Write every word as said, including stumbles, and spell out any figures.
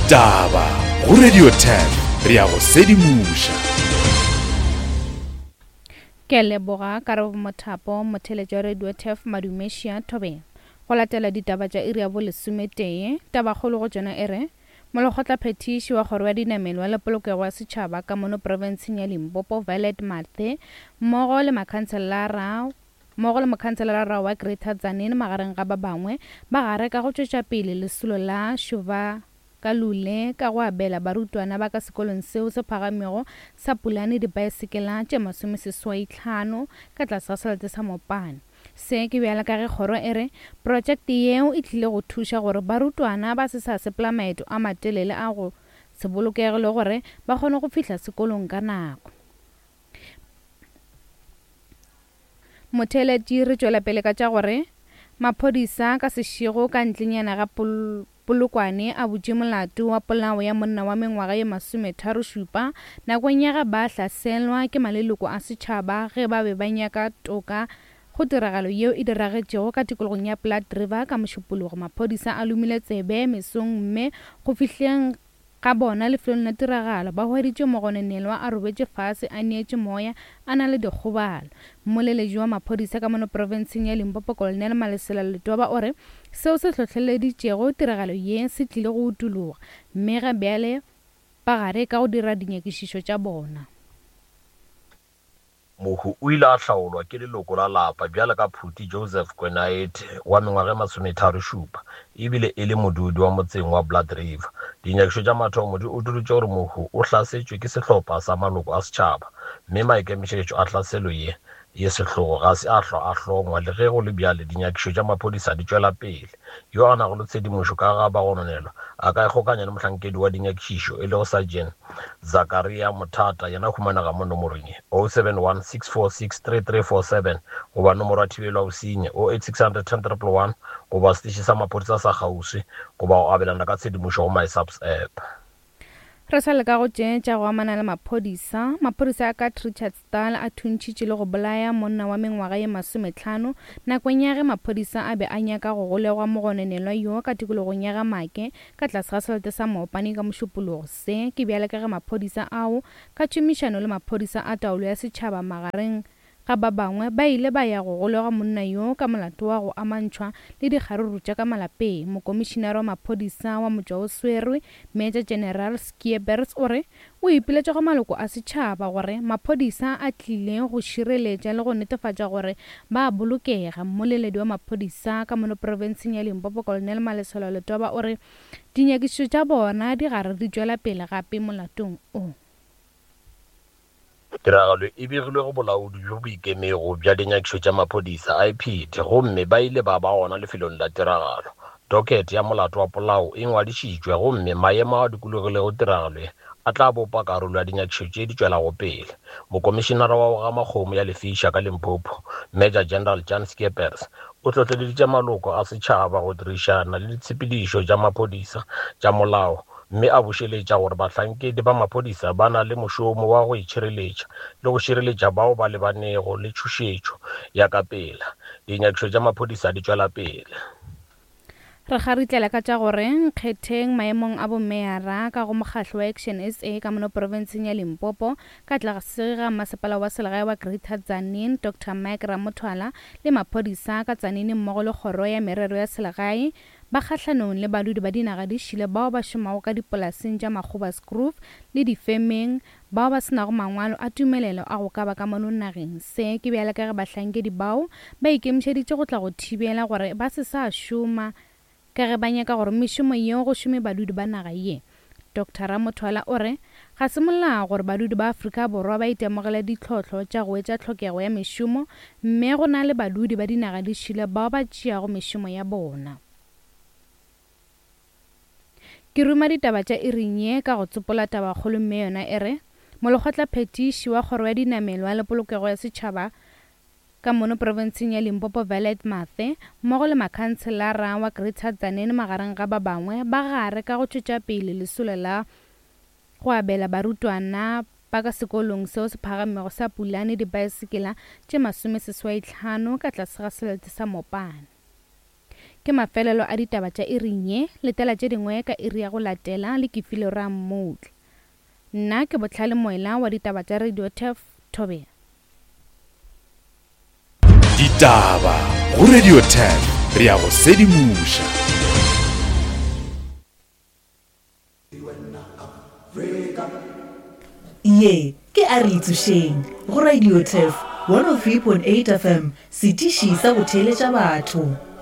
Ditaba go Radio ten, re ya go sedimoša. Ke a leboga Karabo Mothapo, motheletši wa Radio Turf Madumešia Thobela. Go latela ditaba tša iri ya bolesometee, tabakgolo go tšona e re, Molekgotlaphethiši wa kgoro ya dinamelwa le polokego ya setšhaba ka mono profenseng ya Limpopo Violet Mathe mmogo le makhanselara mmogo le mokhanselara wa Greater Tzaneen magareng ga ba bangwe ba gare ka go tšwetša pele lesolo la Šuba Kalule ka go abela barutwana ba ka sekolong seo se phagamego sa Pulane dipaesekela tše masomeseswai hlano ka tlase ga selete sa Mopane. Se ke bjala ka ge kgoro e re projekte yeo e tlile go thuša gore barutwana ba se sa sepela maeto a matelele a go se bolokege le gore ba kgone go fihla sekolong ka nako. Motheeletši re tšwela pele ka tša gore maphodisa ka sešego ka ntlenyana ga pol Polokwane a butše molato wa polao ya monna wa mengwaga ye masometharo šupa nakong ya ge ba hlaselwa ke maleloko a setšhaba ge ba be ba nyaka toka go tiragalo yeo e diragetšego ka tikologong ya Blood River ka Mošupologo. Maphodisa a lomile tsebe mesong mme go fihleng ga bona lefelong la tiragalo ba hweditše mogononelwa a robetše fase a neetše moya a na le dikgobalo. Mmoleledi wa maphodisa ka mono profenseng ya Limpopo Colonel Malesela Letoba o re seo se hlohleleditšego tiragalo ye se tlile go utologa mme ga bjale ba gare ka go dira dinyakišišo tša bona. Mohu o ile a hlaolwa ke leloko la lapa bjalo ka Phuti Joseph Kwenaete wa mengwaga e masometharo šupa ebile e le modudi wa motseng wa Blood River. Dinyakišo tša mathomo di utolotše gore mohu o hlasetšwe ke sehlopha sa maloko a setšhaba mme maikemišetšo a hlaselo ye ye sehlogo ga se a hlwa a hlongwa. Le ge go le bjale, dinyakišo tša maphodisa di tšwela pele. Yo a nago le tshedimošo ka ga bagononelwa a ka ikgokanya le mohlankedi wa dinyakišišo e lego Sergeant Zakaria Mothata, yena humanega mo nomorong ye oh seven one six four six three three four seven goba nomoro ya thibelo ya bosenyi oh eight six hundred ten triple one goba seteše sa maphodisa sa kgauswi goba go abelana ka tshedimošo go MySAPS app. Re sa leka go tše tša go amana le maphodisa. Maphodisa a ka Richardsdal a thuntšhitše le go bolaya monna wa mengwaga ye masometlhano nakong ya ge maphodisa a be a nyaka go golegwa mogononelwa yo ka tikologong ya ga Make ka tlase ga selete sa Mopane ka Mošupologo. Se ke bjale ka ge maphodisa ao ka tšhomišano le maphodisa a taolo ya setšhaba magareng ga ba bangwe ba ile ba ya go golegwa monna yo ka molato wa go amantšhwa le dikgaruru tša ka malapeng. Mokomišinara wa maphodisa wa motšwaoswere Major General Skeepers o re o ipiletša go maloko a setšhaba gore maphodisa a tlile go šireletša le go netefatša gore ba bolokega. Mmoleledi wa maphodisa ka mono profenseng ya Limpopo Colonel Malesela Letoba o re dinyakišišo tša bona di gare di tšwela pele gape molatong o. Tiragalo e begilwe go bolaodi bjo bo ikemego bja dinyakišo tša maphodisa I P D gomme ba ile ba ba gona lefelong la tiragalo. Docket ya molato wa polao e ngwadišitšwe gomme maemo a dikologilego tiragalo ye a tla bopa karolo ya dinyakišo tše di tšwelago pele. Mokomišinara wa go gama kgomo ya Lefiša ka Limpopo Major General Jan Skeepers o hlohleleditše maloko a setšhaba go dirišana le ditshepedišo tša maphodisa tša molao mme a bušeletša gore bahlankedi ba maphodisa ba na le mošomo wa go itšhireletša le go šireletša bao ba lebanego le tšhošetšo ya ka pela. Dinyakišo tša maphodisa di tšwela pele. Re kgaritlela ka tša gore nkgetheng maemong a bomeyara ka go mokgahlo wa Action S A ka mono profenseng ya Limpopo ka tlase ga masepala wa selegae wa Greater Tzaneen Doctor Mike Ramothwala le maphodisa ka Tzaneen mmogo le kgoro ya merero ya selegae ba kgahlanong le badudi ba dinaga di šile bao ba šomago ka dipolaseng tša Makgobasgrove le difemeng bao ba senago mangwalo a tumelelo a go ka ba ka mono nageng. Se ke bjale ka ge bahlankedi bao ba ikemišeditše go tla go thibela gore ba se sa šoma ka ge ba nyaka gore mešomo yeo go šome badudi ba naga ye. Doctor Ramothwala o re ga se molao gore badudi ba Afrika Borwa ba itemogele ditlhohlo tša go etša tlhokego ya mešomo mme go na le badudi ba dinaga di šile bao ba tšeago mešomo ya bona. Ke ruma ditaba tša iring ye ka go tsopola tabakgolo mme yona e re molekgotlaphethiši wa kgoro ya dinamelwa le polokego ya setšhaba ka mono profenseng ya Limpopo Violet Mathe mmogo le makhanselara wa Greater Tzaneen magareng ga ba bangwe ba gare ka go tšwetša pele lesolo la go abela barutwana ba ka sekolong seo se phagamego sa Pulane dipaesekela tše masomeseswai hlano ka tlase ga selete sa Mopane. Ke mafelelo a ditaba tša iring ye, letela tše dingwe ka iri ya go latela le Kefilwe Rammutla. Nna ke Bohlale Moela wa ditaba tša Radio Turf, Thobela. Ditaba go Radio Turf, re a go sedimoša. Ye ke a re itsošeng go Radio Turf one oh three point eight F M, setiši sa go theeletša batho.